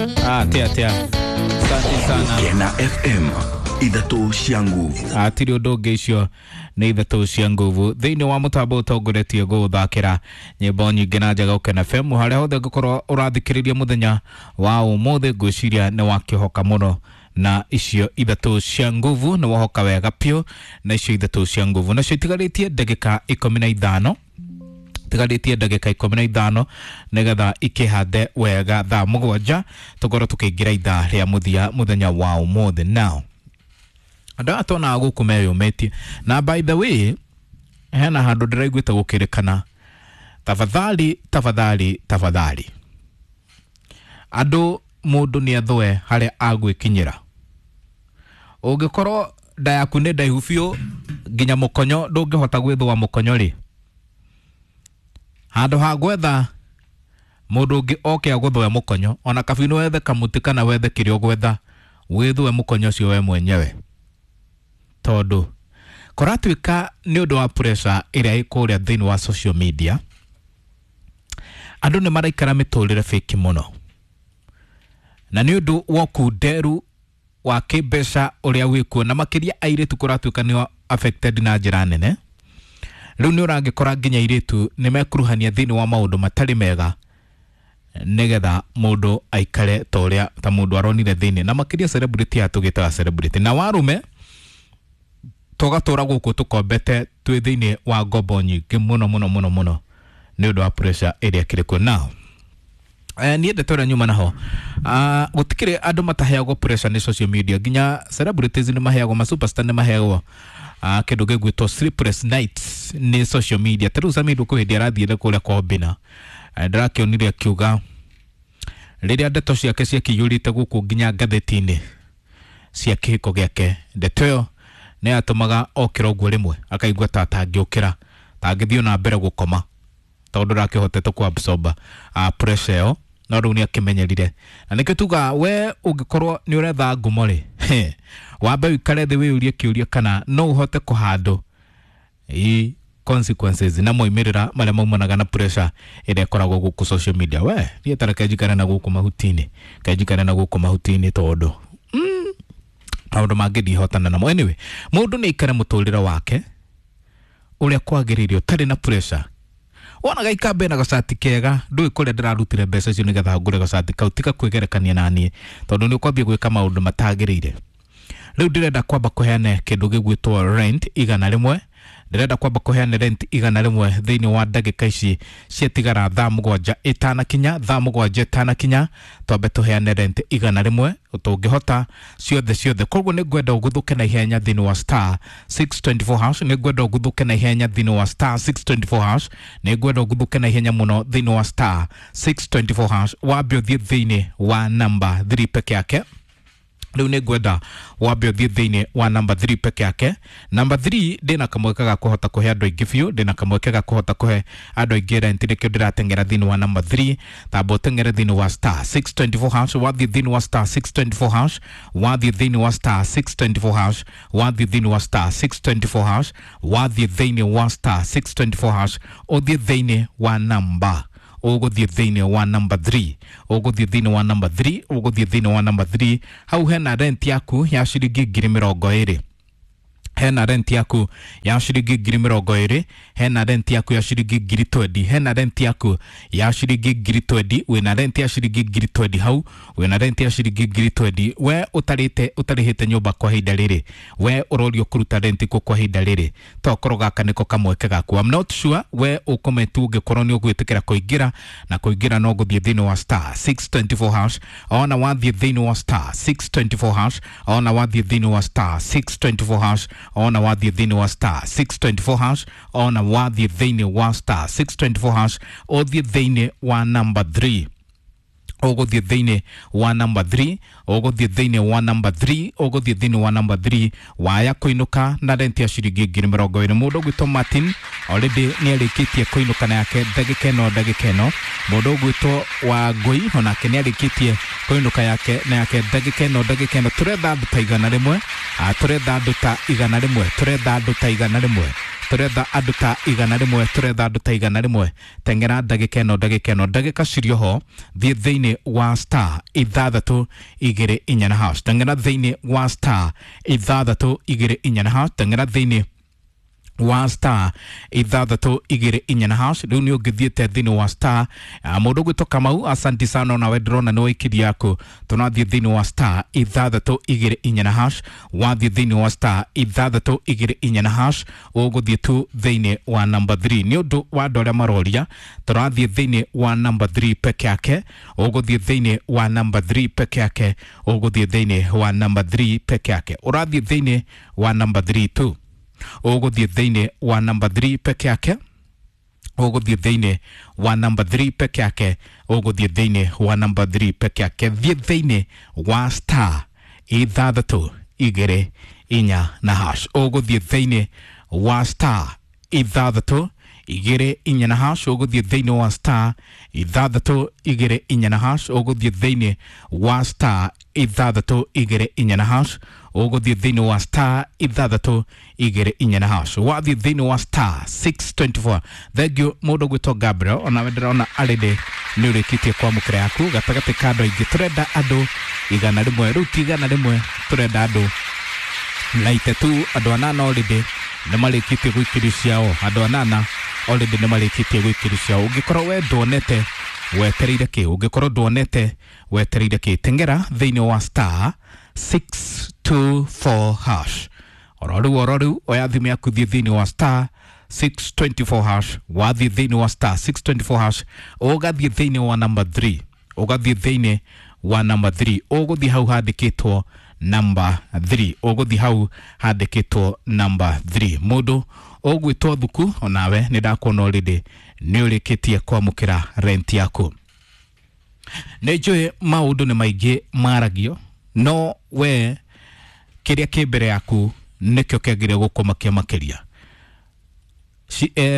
Atia atia, asante sana. Kena FM ithatũ cia nguvu. Atirĩ ũndũ ũngĩ, icio nĩ ithatũ cia nguvu thĩinĩ wa mũtambo ũtongoretie gũgũthakĩra nyĩmbo nyingĩ na njega Ũkena FM harĩa hothe ũngĩkorwo ũrathikĩrĩria mũthenya wa ũmũthĩ. Ngwĩciria nĩ wakĩhoka mũno na icio ithatũ cia nguvu, nĩ wahoka wega piũ na icio ithatũ cia nguvu. Nacio itigarĩtie ndagĩka 15, tigarĩtie ndagĩka 15 nĩgetha ikĩhande wega thaa 7 tũkorwo tũkĩingĩra ithaa rĩa mũthia mũthenya wa ũmũthĩ. Now andũ aya tuonaga gũkũ meyũmĩtie, na by the way hena handũ ndĩraiguĩte gũkĩrĩkana, tafadhali tafadhali tafadhali andũ, mũndũ nĩ athũe harĩa agwĩkinyĩra. Ũngĩkorwo nda yaku nĩ ndaihu biũ nginya mũkonyo ndũngĩhota gwĩthũa mũkonyo rĩ, handũ ha gwetha mũndũ ũngĩ oke agũthũe mũkonyo, ona kabino wethe kamũtĩ kana wethe kĩrĩa ũgwetha wĩthũe mũkonyo ũcio we mwenyewe, tondũ kũratuĩka nĩ ũndũ wa pressure ĩrĩa ĩ kũrĩa thĩinĩ wa social media, andũ nĩ maraikara mĩtũrĩre fake mũno, na nĩ ũndũ wa ũkunderu wa kĩmbeca ũrĩa wĩkuo, na makĩria airĩtu kũratuĩka nĩo affected na njĩra nene. Rĩu nĩ ũrangĩkora nginya airĩtu nĩ mekuruhania thĩinĩ wa maũndũ matarĩ mega nĩgetha mũndũ aikare ta ũrĩa ta mũndũ aronire thĩinĩ, na makĩria celebrity aya tũgĩtaga celebrity na warume tũgatũra gũkũ tũkombete twĩ thĩinĩ wa ngombo nyingĩ mũno mũno mũno mũno nĩ ũndũ wa pressure ĩrĩa ĩkĩrĩ kuo. Now niĩ ndeto ĩrĩa nyuma naho, gũtikĩrĩ andũ mataheagwo pressure nĩ social media, nginya celebrities nĩ maheagwo, ma superstar nĩ maheagwo kĩndũ gĩgwĩtwo sleepless nights nĩ social media. Ta rĩu Samido kwĩ hĩndĩ arathiĩre kũrĩa kwa Obina, ndĩrakĩonire akiuga rĩrĩa ndeto ciake ciakĩiyũrĩte gũkũ nginya ngathĩti-inĩ cia kĩhiko gĩake, ndeto ĩyo nĩ yatũmaga okĩra ũguo rĩmwe akaigua ta atangĩũkĩra, tangĩthiĩ na mbere gũkoma tondũ ndakĩhotete ku absorb pressure ĩyo, no rĩu nĩ akĩmenyerire. Na nĩkĩo tuga we ũngĩkorwo nĩ ũretha ngumo rĩ, wambe ũikare thĩ wĩyũrie kĩũria kana no ũhote kũhandũ i consequences na moimĩrĩra marĩa maumanaga na pressure ĩrĩa ĩkoragwo gũkũ social media. We niĩ ta reke njikare na gũkũ mahuti-inĩ, reke njikare na gũkũ mahuti-inĩ tondũ maũndũ mangĩ ndihotana namo. Anyway, mũndũ nĩ aikare mũtũrĩre wake ũrĩa kwagĩrĩire ũtarĩ na pressure. Wona gaikamba na gacati kega, ndũĩ kũrĩa ndĩrarutire mbeca icio nĩgetha ngũre gacati kau. Tiga kwĩgerekania na niĩ tondũ nĩ ũkwambia gwĩka maũndũ matagĩrĩire. Rĩu ndĩrenda kwamba kũheana kĩndũ gĩgwĩtwo rent 100, ndĩrenda kwamba kũheana rent 100 thĩinĩ wa ndagĩka ici ciatigara thaa 7 ĩtanakinya, thaa 7 ĩtanakinya twambe tũheane rent 100 tũngĩhota ciothe ciothe. Koguo nĩ ngwenda ũguthũke na ihenya thĩinĩ wa star 624 hash, nĩ ngwenda ũguthũke na ihenya thĩinĩ wa star 624 hash, nĩ ngwenda ũguthũke na ihenya mũno thĩinĩ wa star 624 hash. Wambe ũthiĩ thĩinĩ wa namba 3 peke yake. Rĩu nĩ ngwenda wambe ũthiĩ thĩinĩ wa namba 3 peke yake. Namba 3 ndĩna kamweke ga kũhota kũhe andũ aingĩ biũ, ndĩna kamweke ga kũhota kũhe andũ aingĩ rent, nĩkĩo ndĩrateng'era thĩinĩ wa namba 3. Tamba ũteng'ere thĩinĩ wa star 624 hash. Wathiĩ thĩinĩ wa star 624 hash, wathiĩ thĩinĩ wa star 624 hash, wathiĩ thĩinĩ wa star 624 hash, wathiĩ thĩinĩ wa star 624 hash, ũthiĩ thĩinĩ wa namba, ũgũthiĩ thĩinĩ wa namba 3, ũgũthiĩ thĩinĩ wa namba 3, ũgũthiĩ thĩinĩ wa namba 3. Hau hena rent yaku ya ciringi 20,000, hena rent yaku ya ciringi 20,000, hena rent yaku ya ciringi 20,000, hena rent yaku ya ciringi 20,000. Wĩna rent ya ciringi 20,000 hau, wĩna rent ya ciringi 20,000. We ũtarĩte ũtarĩhĩte nyũmba kwa ihinda rĩrĩ, we ũrorio kũruta rent kũ kwa ihinda rĩrĩ, tokorwo gaka nĩko kamweke gaku. I'm not sure we ũkometu ũngĩkorwo nĩ ũgwĩtĩkĩra kũingĩra, na kũingĩra no gũthiĩ thĩinĩ wa star 624 hash. Ona wathiĩ thĩinĩ wa star 624 hash, ona wathiĩ thĩinĩ wa star 624 hash, ona wathiĩ thĩinĩ wa star 624 hash, ona wathiĩ thĩinĩ wa star 624 hash, ũthiĩ thĩinĩ wa namba 3, ũgũthiĩ thĩinĩ wa namba 3, ũgũthiĩ thĩinĩ wa namba 3, ũgũthiĩ thĩinĩ wa namba 3, waya kũinũka na rent ya ciringi 20,000. Mũndũ ũgwĩtwo Martin already nĩ arĩkĩtie kũinũka na yake ndagĩka ĩno, ndagĩka ĩno. Mũndũ ũgwĩtwo Wangũi onake nĩ arĩkĩtie kũinũka yake na yake ndagĩka ĩno, ndagĩka ĩno. Tũretha andũ ta 100, tũretha andũ ta 100, tũretha andũ ta 100, Tũretha andũ ta 100, tũretha andũ ta 100. Teng'era ndagĩka ĩno, ndagĩka ĩno, ndagĩka cirĩ oho. Thiĩ thĩinĩ wa star 6 2 4 na hash. Teng'era thĩinĩ wa star 6 2 4 na hash. Teng'era thĩinĩ wa star 6 2 4 na hash. Rĩu nĩ ũngĩthiĩte thĩinĩ wa star. Mũndũ ũgwĩtwo Kamau, asanti sana, onawe ndĩrona nĩ waikirie yaku. Tũrathiĩ thĩinĩ wa star 6 2 4 na hash. Wathiĩ thĩinĩ wa star 6 2 4 na hash, ũgũthiĩ tu thĩinĩ wa number 3. Nĩ ũndũ wa andũ arĩa maroria, tũrathiĩ thĩinĩ wa number 3 peke yake. Ũgũthiĩ thĩinĩ wa number 3 peke yake. Ũgũthiĩ thĩinĩ wa number 3 peke yake. Ũrathiĩ thĩinĩ wa number 3 tu. Ũgũthiĩ thĩinĩ wa number 3 peke yake. Ũgũthiĩ thĩinĩ wa number 3 peke yake. Ũgũthiĩ thĩinĩ wa number 3 peke yake. Thiĩ thĩinĩ wa star 6 2 4 na hash. Ũgũthiĩ thĩinĩ wa star 6 2 4 na hash. Ũgũthiĩ thĩinĩ wa star 6 2 4 na hash. Ũgũthiĩ thĩinĩ wa star 6 2 4 na hash. Ũgũthiĩ thĩinĩ wa star 6 2 4 na hash. Wathiĩ thĩinĩ wa star 624. Thank you mũndũ ũgwĩtwo Gabriel, onawe ndĩrona already nĩ ũrĩkĩtie kwamũkĩra yaku. Gatagatĩ ka andũ aingĩ, tũrenda andũ 100. Rĩu ti 100, tũrenda andũ 92. Andũ 8 already nĩ marĩkĩtie gũikĩrio ciao. Andũ 8 already nĩ marĩkĩtie gũikĩrio ciao. Ũngĩkorwo we nduonete, wetereire kĩ? Ũngĩkorwo nduonete, wetereire kĩ? Teng'era thĩinĩ wa star 624 hash. Oro rĩu, oro rĩu, oya thimũ yaku, thiĩ thĩinĩ wa star 624 hash. Wathiĩ thĩinĩ wa star 624 hash, ũgathiĩ thĩinĩ wa number 3. Ũgathiĩ thĩinĩ wa number 3. Ũgũthiĩ hau handĩkĩtwo number 3. Ũgũthiĩ hau handĩkĩtwo number 3. Mũndũ ũgwĩtwo Thuku, onawe nĩ ndakuona already nĩ ũrĩkĩtie kwamũkĩra rent yaku. Nĩ njũĩ maũndũ nĩ maingĩ maragio, no we kĩrĩa kĩ mbere yaku nĩkĩo kĩagĩrĩire gũkũmakia makĩria.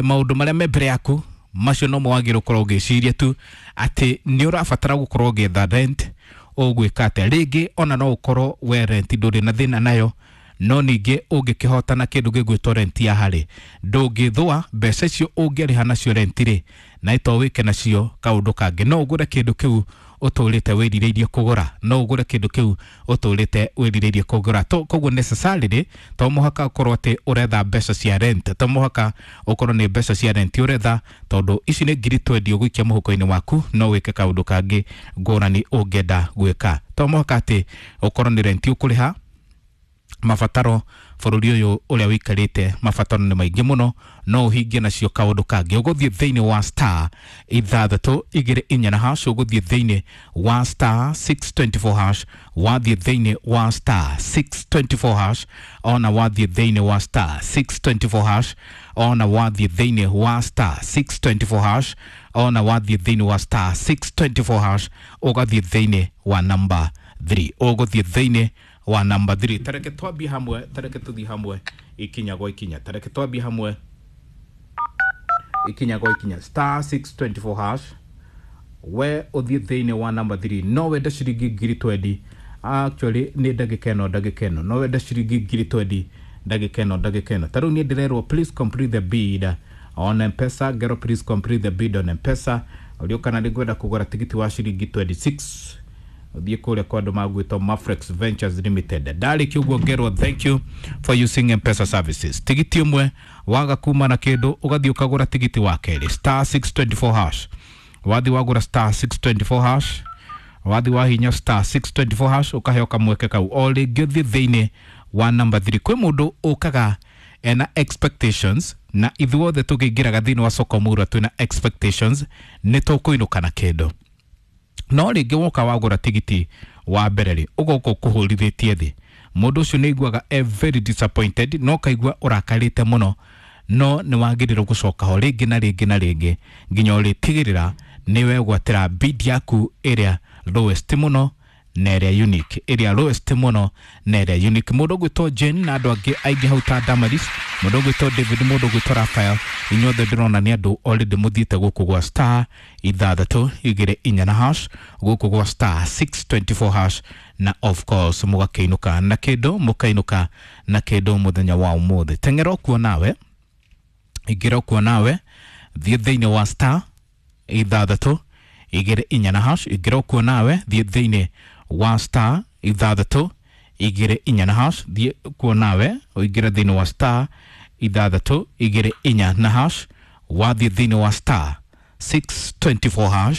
Maũndũ marĩa me mbere yaku macio nomo wagĩrĩirwo gũkorwo ũgĩciria tu atĩ nĩ ũrabatara gũkorwo ũgĩetha rent. Ũgwĩka atĩa rĩngĩ? Ona no ũkorwo we rent ndũrĩ na thĩna nayo, no ningĩ ũngĩkĩhotana kĩndũ gĩgwĩtwo rent ya harĩ, ndũngĩthũa mbeca icio ũngĩrĩha nacio rent rĩ, na ito wĩke nacio kaũndũ kangĩ. No ũgũre kĩndũ kĩu ũtũrĩte wĩrirĩirie kũgũra. No ũgũre kĩndũ kĩu ũtũrĩte wĩrirĩirie kũgũra. Koguo necessarily to mũhaka ũkorwo atĩ ũretha mbeca cia rent, to mũhaka ũkorwo nĩ mbeca cia rent ũretha, tondũ ici nĩ ngiri 20 ũgũikia mũhuko-inĩ waku, no wĩke kaũndũ kangĩ ngũrani ũngĩenda gwĩka. To mũhaka atĩ ũkorwo nĩ rent ũkũrĩha. Mabataro bũrũri ũyũ ũrĩa ũikarĩte, mabataro nĩ maingĩ mũno, no ũhingie nacio kaũndũ kangĩ. Ũgũthiĩ thĩinĩ wa star 6 2 4 na hash. Ũgũthiĩ thĩinĩ wa star 624 hash. Wathiĩ thĩinĩ wa star 624 hash, ona wathiĩ thĩinĩ wa star 624 hash, ona wathiĩ thĩinĩ wa star 624 hash, ona wathiĩ thĩinĩ wa star 624 hash, ũgathiĩ thĩinĩ wa number 3. Ũgũthiĩ thĩinĩ wa number 3. Tareke twambie hamwe, tareke tuthiĩ hamwe ikinya gwa ikinya. Tareke twambie hamwe ikinya gwa ikinya. Star 624 hash, we ũthiĩ thĩinĩ wa number 3. No wende ciringi ngiri 20 actually nĩ ndagĩka ĩno, ndagĩka ĩno no wende ciringi ngiri 20, ndagĩka ĩno, ndagĩka ĩno. Ta rĩu niĩ ndĩrerwo, "Please complete the bid on M-Pesa." Ngero, "Please complete the bid on M-Pesa." Ũrio kana nĩ ngwenda kũgũra tigiti wa ciringi 26, ũthiĩ kũrĩa kwa andũ magwĩtwo Mafrex Ventures Limited. Ndarĩkia ũguo ngerwo, "Thank you for using M-Pesa services." Tigiti ũmwe waga kuma na kĩndũ, ũgathiĩ ũkagũra tigiti wa kerĩ, star 624 hash. Wathi wagũra star 624 hash, wathi wahinya star 624 hash, ũkaheo kamweke kau o rĩngĩ ũthiĩ thĩinĩ wa number 3. Kwĩ mũndũ ũkaga ena expectations, na ithuothe tũkĩingĩraga thĩinĩ wa soko mũrwa twĩna expectations nĩ tũkũinũka na kĩndũ. No rĩngĩ woka wagũra tigiti wa mbere rĩ, ũgoka ũkũhũrithĩtie thĩ. Mũndũ ũcio nĩ aiguaga e very disappointed, no kaigua ũrakarĩte mũno. No nĩ wagĩrĩirwo gũcoka ho rĩngĩ na rĩngĩ na rĩngĩ nginya ũrĩtigĩrĩra nĩ wegwatĩra bid yaku ĩrĩa lowest mũno na ĩrĩa unique, ĩrĩa lowest mũno na ĩrĩa unique. Mũndũ ũgwĩtwo Jane na andũ angĩ aingĩ hau ta Damaris, mũndũ ũgwĩtwo David, mũndũ ũgwĩtwo Raphael, inyuothe ndĩrona nĩ andũ already mũthiĩte gũkũ gwa star 6 2 4 na hash, gũkũ gwa star 624 hash, na of course mũgakĩinũka na kĩndũ, mũkainũka na kĩndũ mũthenya wa ũmũthĩ. Teng'era ũkuo nawe. Ingĩra kuo nawe, thiĩ thĩinĩ wa star 6 2 4 na hash. Ingĩra kuo nawe, thiĩ thĩinĩ wa star 6 2 4 na hash. Thiĩ kuo nawe ũingĩre thĩinĩ wa star 6 2 4 na hash. Wathiĩ thĩinĩ wa star 624 hash.